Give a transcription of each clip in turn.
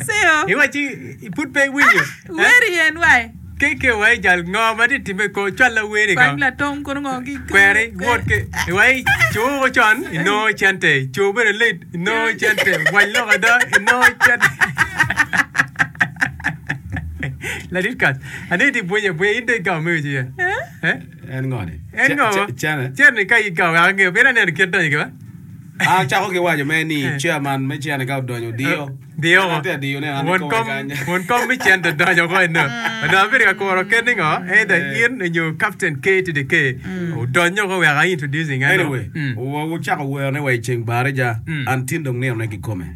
Seo. Iwacci pud pe iwinyo. Weri en wai. KK wai jal ngo ma tye time ko cwal aweri ko. Kwany latong kono ngo ki. Kweri wot ki wai coo con inongo cente coo bene late inongo cente wac lok ada inongo cente. Ladit kac aneno itye bwunyo abwunya in dong igamo mego ci ye. Eh? En ngo ni? En ngo? Cene. Cene ka igamo wek angeyo pien aneno kit donyo ki ba. Acako ki waco mere ni chairman me cene ka odonyo odiyo. Diyo won kom won kom me cente donyo oko eno. Onongo abedo ka kuro ket ni ngo either in nyo captain K to the K odonyo oko wek a introducing eno. Anyway, wucako werone wa i ceng barija, an tin dong ninone kikome.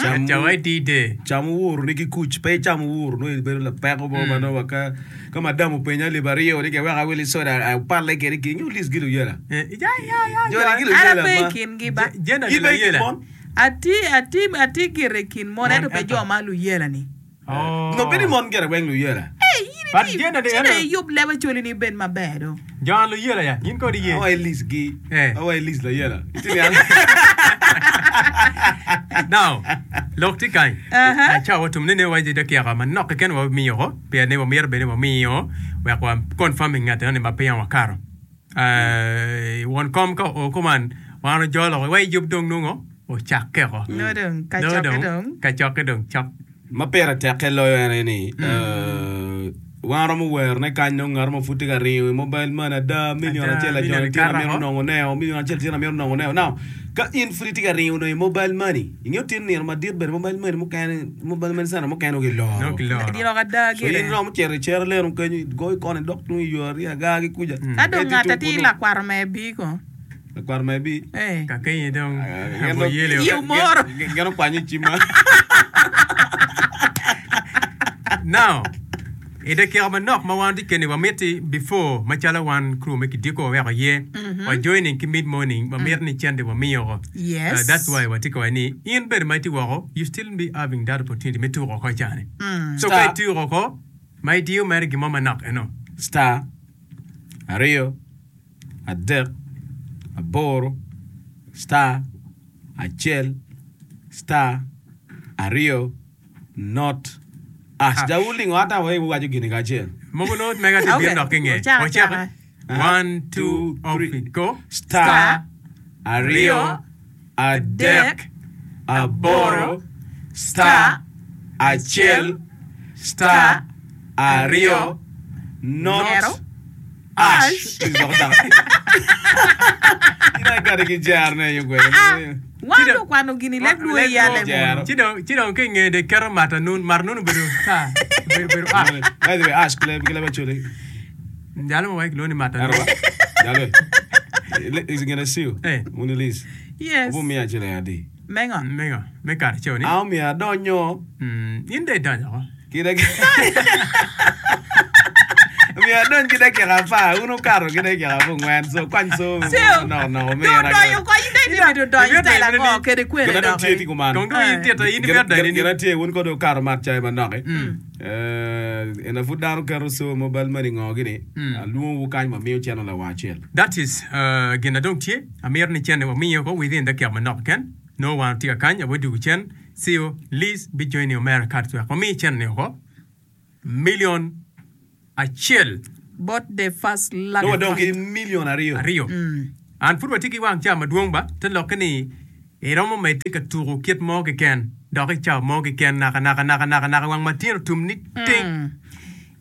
Cam Ca wa i D-day. Cam owuroni ki kuc, pe icam owuro nongo ibedo lapeko mo ma nongo wa ka Ka madam openya alip aryo ni kewek awil soda apalle kede ki nyo lis gi luyela. Joni gi luyela ma. An ape i kingi ba. In pe i kin mon? Atye, atye, atye gire i kin mon ento pe jo ma luyela ni. Nongo bedo ni mon gire weng luyela. Ee, in itye, ci dong iyub leb Acholi ni obed maber do. Jo a luyela ya, in kodi iye. Awa i lis gi, awa i lis layela. Itye niang? Now, lok tye kany. Aca watum ne ne waci dakika manok keken wamiyo ko. Pien ni wamito bed ni wamiyo wek wa confirming ngat enoni ma peya wakato. Won kom ka oo kuman wan ojolo wa yub dong nongo ocakke oko. Nongo dong kacokke dong. Kacokke dong cok. Ma pire tekke loyo en aye ni wan romo werone kany nongo ngat mo pud tye ka ringo i mobile money ada million acel ajoni tyen amito nongo neo million acel tyen amito nongo neo now ka in pud itye ka ringo nongo i mobile money ingeyo tin nino madit bene mobile money mukene Mobile money center mukene nongo giloro. Giloro ada gire. So in iromo cito i cere leno kenyo igoyo koni idok tung i yo Ariaga ki kuca. Ka dong ngat atir lakwaro me bi ko. Lakwaro me bi. Eh. Ka kenyi dong aboyele. Iyo moro. Gin okwanyo i cimma. Now, I dakika manok ma wan watye keni wamiti before macalo wan crew me kidiko waweko aye wa joining ki mid morning wamito ni cente wamiyo oko Yes. that's why watye ka waco ni in bene ma itye woko you still be having that opportunity me tuko oko cani so ka Star. ituko oko ma idiyo mere gin mo manok eno. Star, aryo, adek, aboro, star, acel, star, aryo, Not us. Ja wulingo ata wa iwaco gini kacel. Mogo nongo mega tye bino dok ki nge. Wacaki. One, two, three, go. Star, aryo, adek, aboro, star, acel, star, aryo, not us. Wan okwano gini leb luo i yale mono. Ci dong ci dong ki nge de keto mata nun mata nun obedo ta obedo obedo a. By the way, ash kileb kileb acholi. Jalo ma wai kilwongo ni mata nun. Jalo. Is gonna see you. Eh. Muni Liz. Yes. Obu miya acel adi. Me ngo? Me ngo? Me kare ceo ni. An omiyo adonyo. Mm, in dong idonyo oko. Ki Omiyo adony ki dakika apar, wun wukato ki dakika abongwen, so kwany co Ceo, manok nok dong omira. odonyo oko, in dong itye mito donyo style ango kede kwene Gin adong tye doki? tye kuman. Kong dong in tito, in imito donyo Gin nining? atye, wun kono wukato mat cai manok-ki. Eh, ena pud dano keto co mobile money ngo gini, alwongowu kany wamiyo cente lawang acel. That is uh, gin na dong tye, amito ni cente wamiyo oko within dakika manok keken. Nongo wan watye ka kany, awadwogo cen. Cio Liz bijoini omera Katz wek wami cente-ni oko milion acel. Bot the first Nongo lucky wadong ki one. milion aryo. Aryo. An pud watye ki wang cawa madwong ba, te lokke ni iromo medde ka tuko kit mo keken dok i cawa mo keken naka naka naka naka naka wang matino tum ni ting.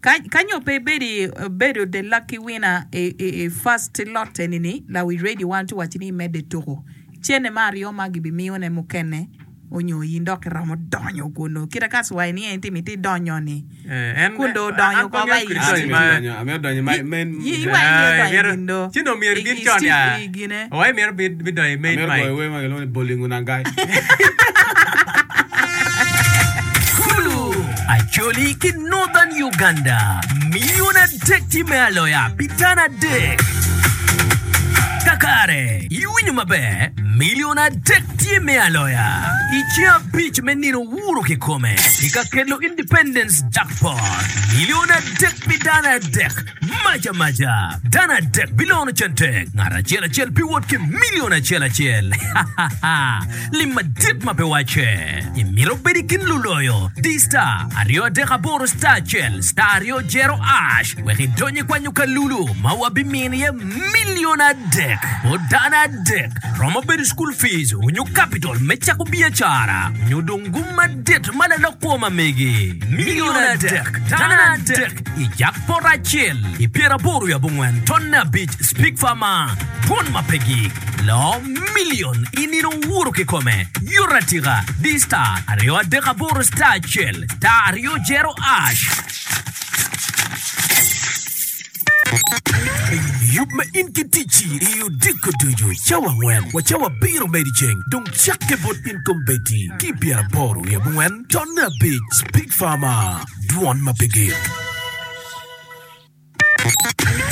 Ka, ka nyo pe ibedo i, bedo the lucky winner i, i, i first lot eni ni, lawi radio wan tye waci ni imedde tuko. Cene me aryo ma gibimiyone mukene onyo in dok iromo donyo kunu. Kite ka cwai ni en timo iti donyo ni. Eh, en Kun dong odonyo an pe oko angeyo ba i kit An donyo amito ma donyo, amito donyo i ma- main Yi iwaci ni Eh, odonyo i imito gin do. ci dong myero I, ibin i con Steve ya. i gine. Wa imito bi bi donyo i main Amito mic. goyo wer ma kilwongo ni Bolingo Nangai. Kulu, Acholi ki Northern Uganda, milion adek tye me aloya pi dano adek. Kakare, iwinyo maber, milion adek. tye me aloya. I ceng abic me nino wuro kikome, i ka kelo Independence Jackpot, milion adek pi dano adek, mac amaca. Dano adek bilono cente, ngat acel acel biwot ki milion acel acel. Lim madit ma pe wacce! Imito bedo i kin luloyo? Di star 238 star acel star aryo jero ash wek idony i kwanyo kalulu ma wabimino iye milion adek bot dano adek. Romo bedo school fees onyo capital me cako biacara onyo dong gum madit ma lalok kwo ma megi. Milion adek dano adek i jackpot acel i pyeraboro wiye abongwen tonne abic Speak Farmer Dwon ma pe gik. Loo milion i nino wuro kikome. Yot atika, di star 238 star acel star aryo jero ash. Yub ma in ki ticci i odiko ducu cawa angwen wa cawa abiro me dyeceng dong cakke bot in kombeddi ki i pyeraboro wiye abongwen tonne abic Speak Farmer, Dwon ma pe gik.